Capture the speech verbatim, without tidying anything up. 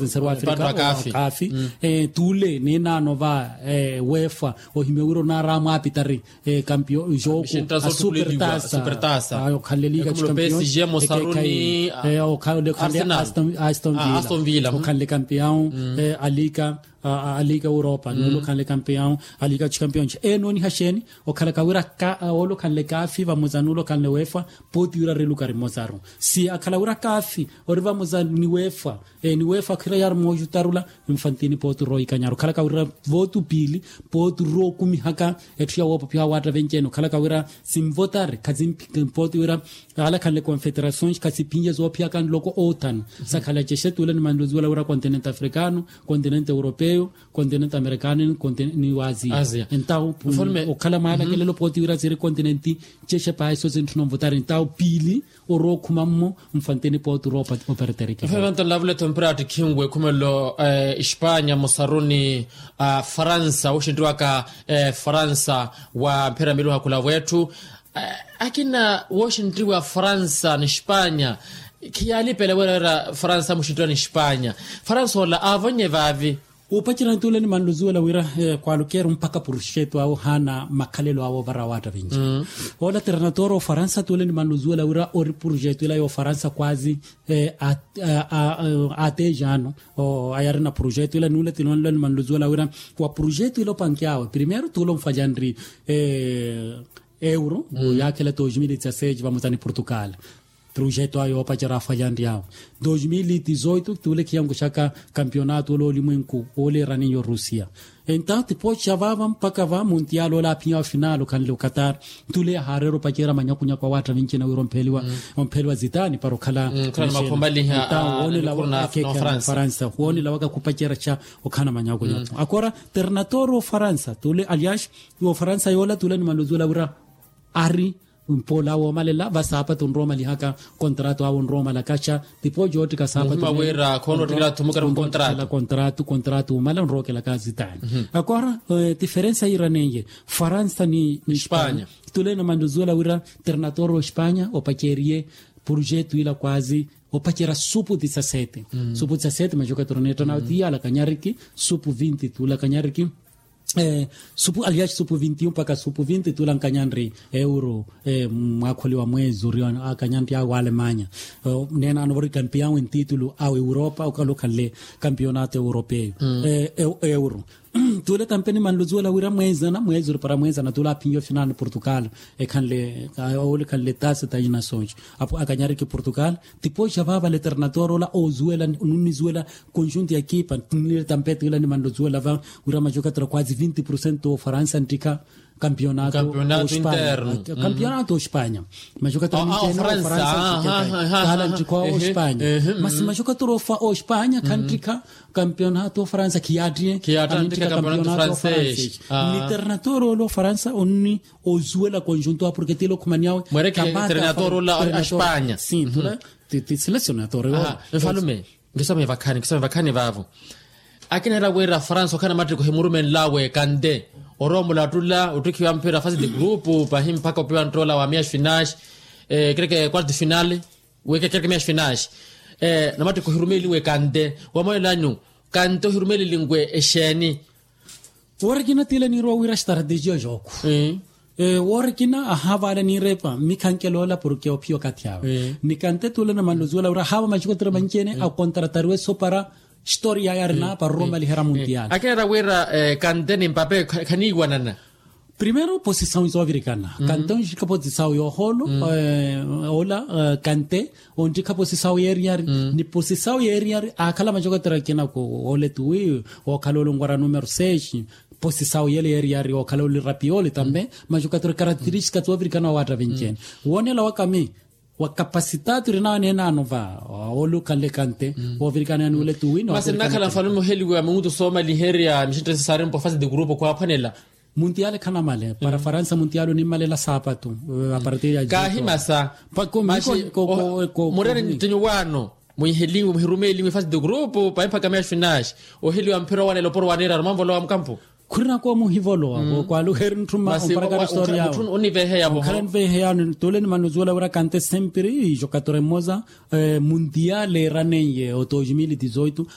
Nseru wa afrika okafi. Tuule ninaano va wefa ohimya wira onaara amwaapitari, kampiyo jooku asupertasa okhanle liga chikampiyon. Okhanle aston villa okhanle kampiyon. Aliga europa nuule okhanle kampiyon aliga chikampiyon. Enooniha xeeni okhalaka wira ole okhanle kafi vamoza nuule okhanle wefa. Pooti wira rilukari mmozaru si akhala wira kafi ori vamoza ni wefa. Ni wefa akhira yaari moojutarula. Nfantini pooti roikanyaru okhalaka wira vootu piili pooti rookumihaka. Etthu ya woopopyaha waatta venci-ene okhalaka wira sinvotari khasimpi pooti wira alakhanle confederações khasiphinye zoophiyaka nloko otan. Sakhala cexetuula ni manluzuwela wira continente africano, continente europeyo, continente americano ni continente ni waziya. Entawo okhala mwaalakelelo pooti wira siri continente cexepaha iso sintthuna onvotari entawo piili orookhuma mmo. Nfantini pooti roopa operterike. Nfantini lavula etho mpira attikhinwe ekhumelelo espanya musaruni a faransa woxinriwaka faransa wa mphira miluha khula wetthu. Akina woxinriwa faransa ni espanya khiyaalipela wira wira faransa muxinriwa ni espanya. Faransa ola aavonye vaavi. Upacerani tuule ni manluzuwela wira kwaalukeru mpakha puruxetu awe ohaana makhalelo awe ovara waatta vinci. Ola ternatoro ofaransa tuule ni manluzuwela wira ori puruxetu ila yoofaransa kwazi ateja ano ayarina puruxetu ila nuule tiloonlo ni manluzuwela wira wa puruxetu ila opanke awe primeiro tuule onfalyanri euro yaakhela dos mil e dezasseis vamoza ni portugal. Projeto ayo yoopacerya afalyanryawe dos mil e dezoito tuule khiyankuxaka kampiyonato ole olimwenku ole eraniyo rusia. Entawo tipoxa vaava mpakha va muntial ole aphinyawe final okhanle okatar. Tuule yahaareera opacerya manyakunyaku awaatta vincina wira ompheliwa ompheliwa zitani para okhala. Entawo woonela wa faransa woonela waka khupacerya xa okhana manyakunyaku akora ternator ofaransa tuule alias ofaransa yoola tuule ni manluzuwela wira ari mpoola woomalela vasaapatu nroomalihaka. Kontrato awe nroomalakaxa tipojo oottika saapatu wira khoono ottikela thumukela kontrato. Kontrato omala nrookelaka zitani akora tiferensa yiiraneiye faransa ni espanya. Tule namanduzuwela wira ternator ospanya opaceriye purujetu ila kwazi opacerya supu disasete. Supu disasete maxoka troneta nawe tiyala kanyariki supu vinti tula kanyariki supu aliaxi supu vinti mpaka supu vinti tula nkanyanri euro. Mwakholi wa mwezi ori akanyanri awe wa alemanya neenano vari kampiyawe ntitulu awe europa okala okhanle kampiyonato europeyo euro. Tule tampe nimanluzuwela wira mwezana mwezi ori para mwezana tula aphinyo finani portugal ekhanle ole ekhanle tasi tayina sonxo apo akanyariki portugal. Tipoxa vaavale ternator ola ozuwela nunnizuwela conjunto ya ekipa nile tampe tila nimanluzuwela va wira maxokatela kwazi vinti porcento ofaransa nttikha kampiyonato ospanya. Kampiyonato ospanya maxokatela minceene ofaransa nttikha kahala nttikha ospanya. Masi maxokatela ospanya khanttikha kampiyonato ofaransa khiyattiye khiyattiye kampiyonato ofaransa. Ni ternator ola ofaransa onni ozuwela conjunto a porke tila okhumaniyawe mwerekele ternator ola ospanya. Sila senador. Mfalume nkisome vakhani nkisome vakhani vaavo. Akina era wira faransa okhana mattikho himurumenlawe kante orowa omulattula ottikhiwa mphira fasi ti grupu pahi mpakha opiwa nttola wa miya spinaxi ekereke quarto finale. Wekekereke miya spinaxi namattikho ohirumelinwe kante wamonelanyu kante ohirumelinwe exeeni? Woori akina tile niirowa wira strategia jooko woori akina ahaavaale niirepa mikhankela ola porke ophiya okathi awe ni kante tule namanluzuwela wira ahaava maxokotero manci-ene akontratariwe sopara. Storia yarina para oromaliherya muntial. Akina era wira kante ni mpape khaniiwanana. Primero posisawu zoovirikana kante onxikha posisawu yoohoolo ola kante ontikha posisawu yeeriyari ni posisawu yeeriyari aakhala maxokotero akina ku ole tuwi ookhala olungwara numero seis. Posisawu yele yeeriyari ookhala oli rapiyo oli tambe maxokotero karakteristika zoovirikana owaatta vinci-ene woonela wakami. Wa kapasitati orinawe neenano va ole okhanle kante woovirikana yaani ole tuwi masi nnakhala nfalume oheliwa minutu soomaliherya mixinttesi saari mpo fasi ti grupu khwaaphwanela. Muntiale khanamale para faransa muntiale onimmalela saapatu. Apartir ya kahimasa mureni nttinyu waano mwihelinwe muhirumelinwe fasi ti grupu pahi mpaka meya spinaxi oheliwa mphira owanela oporo waneeraru manvolowa mukampu. Khurina koomuhivolowa vookwaaluheeri ntthuma omparakari stori yawe. Oniveheyavo okhala niveheyano tule nimanuzuwela wira kante sempiri ijo katoremmoza muntiale eraneiye o dos mil e dezoito.